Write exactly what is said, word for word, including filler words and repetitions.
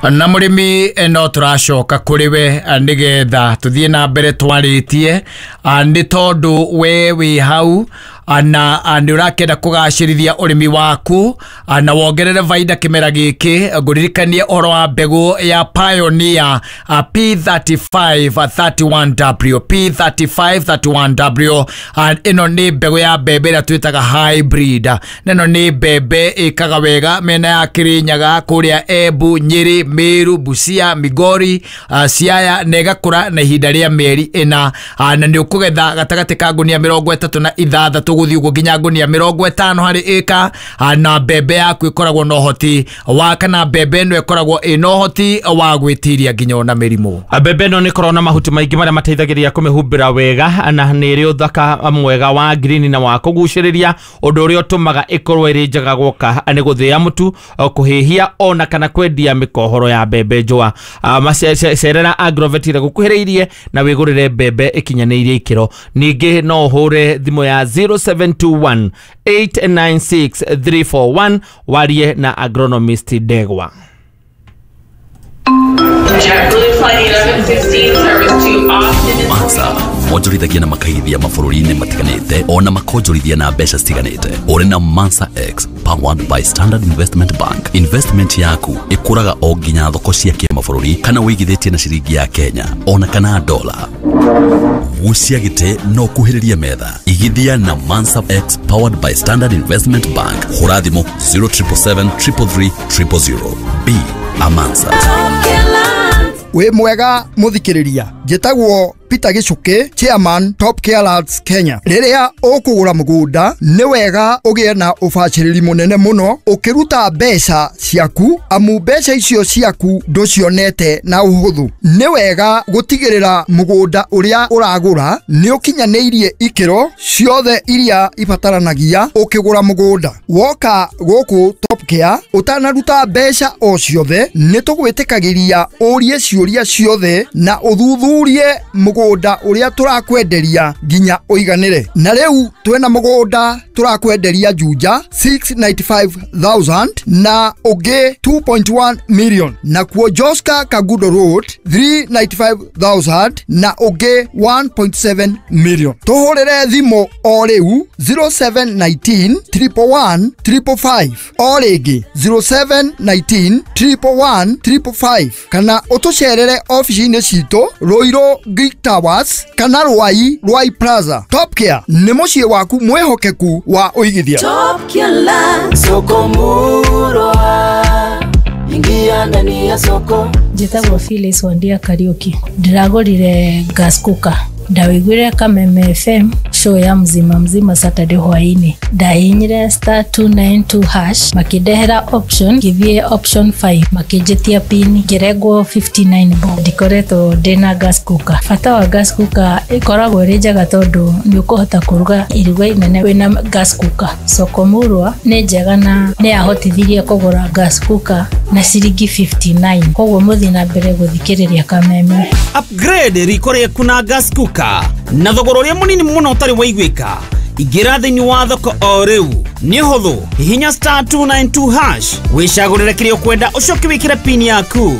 Na mũrĩmi, no tũracoka kũrĩ we nĩgetha tũthiĩ na mbere twarĩtie, nĩ tondũ we wĩ hau na nĩ ũrakĩenda kũgacĩrithia ũrĩmi waku na wongerere baida kĩmera gĩkĩ. Ngũririkanie ũhoro wa mbegũ ya Pioneer P thirty-five thirty-one W, P thirty-five thirty-one W. Ĩno nĩ mbegũ ya mbembe ĩrĩa twĩtaga hybrid, na ĩno nĩ mbembe ĩkaga wega mĩena ya Kĩrĩnyaga, kũrĩa Embu, Nyĩrĩ, Meru, Busia, Migori, Siaya, na ĩgakũra na ihinda rĩa mĩeri ĩna, na nĩ ũkũgetha gatagatĩ ka ngunia mĩrongo ĩtatũ na ithathatũ gũthiĩ ũguo nginya ngunia mĩrongo ĩtano harĩ ĩka, na mbembe yaku ĩkoragwo na ũhoti wa, kana mbembe ĩno ĩkoragwo ĩna ũhoti wa gwĩtiria nginya ona mĩrimũ. Mbembe ĩno nĩ ĩkoragwo na mahuti maingĩ marĩa mateithagĩrĩria kũmĩhumbĩra wega, na nĩ ĩrĩ ũthaka mwega wa green na wa kũgucĩrĩria, ũndũ ũrĩa ũtũmaga ĩkorwo ĩrĩ njega gwoka nĩ gũthĩa mũtu, kũhĩhia ona kana kwendia mĩkohoro ya mbembe njũa. Cerera Agrovet ĩrĩa gũkuhĩrĩirie na wĩgũrĩre mbembe ĩkinyanĩirie ikĩro. Ningĩ no ũhũre thimũ ya zero seven two one eight nine six three four one warie na agronomist Ndegwa. JetBlue Flight eleven sixteen service to Austin is Mansa monjorithagia na makaigithia mabũrũri-inĩ matiganĩte, ona makonjorithia na mbeca citiganĩte. Ũrĩ na Mansa X powered by Standard Investment Bank, investment yaku ĩkũraga o nginya thoko cia kĩmabũrũri, kana wĩigithĩtie na ciringi ya Kenya ona kana dola. Gucia gĩtĩ no kuhĩrĩrie metha, igithia na Mansa X powered by Standard Investment Bank. Hũra thimũ zero seven seven seven three three three zero zero. Be a Mansa. Wĩ mwega mũthikĩrĩria, njĩtagwo Peter Gichuki, chairman, Top Care Lands Kenya. Rĩrĩa ũkũgũra mũgũnda, nĩ wega ũgĩe na ũbacĩrĩri mũnene mũno ũkĩruta mbeca ciaku, amu mbeca icio ciaku ndũcionete na ũhũthũ. Nĩ wega gũtigĩrĩra mũgũnda ũrĩa ũragũra nĩ ũkinyanĩirie ikĩro ciothe iria ibataranagia ũkĩgũra mũgũnda. Woka gũkũ Top Care, ũtanaruta mbeca o ciothe, nĩ tũgwĩtĩkagĩria ũrie ciũria ciothe na ũthuthurie mũgũnda ũrĩa tũrakwenderia nginya ũiganĩre. Na rĩu twĩna mũgũnda tũrakwenderia Juja six hundred ninety-five thousand na ũngĩ two point one million, nakuo Joska Kangundo Road three hundred ninety-five thousand na ũngĩ one point seven million. Tũhũrĩre thimũ o rĩu zero seven one nine triple one triple five, o rĩngĩ zero seven one nine triple one triple five, kana ũtũcerere ofici-inĩ citũ Ruiru Greek Towers kana Ruai, Ruai Plaza. Top Care nĩ mũciĩ waku mwĩhokeku wa ũigithia. Top Care, soko murwa, ingia ndani ya soko. Njĩtagwo Phyllis Wandia Kariũki. Ndĩragũrire gas cooker, ndawĩiguire Kameme F M, show ya Mzima Mzima, Saturday hwaĩ-inĩ. Ndahihinyire star two nine two hash, makĩndehera option, ngĩthiĩ option five, makĩnjĩtia pin, ngĩrengwo fifty-nine bob. Ndikoretwo ndĩna gas cooker. Bata wa gas cooker, ĩkoragwo ĩrĩ njega tondũ nĩ ũkũhota kũruga iruga inene wĩna gas cooker. Soko Murwa nĩ njega na nĩ yahotithirie kũgũra gas cooker na ciringi fifty-nine. Koguo mũthiĩ na mbere gũthikĩrĩria Kameme. Upgrade riko rĩaku na gas cooker na thogora ũrĩa mũnini mũno ũtarĩ waiguĩka. Ingĩra thĩinĩ wa thoko o rĩu, nĩ ũhũthũ. Hihinya star two nine two hash, wĩcagũrĩre kĩrĩa ũkwenda, ũcoke wĩkĩre pin yaku.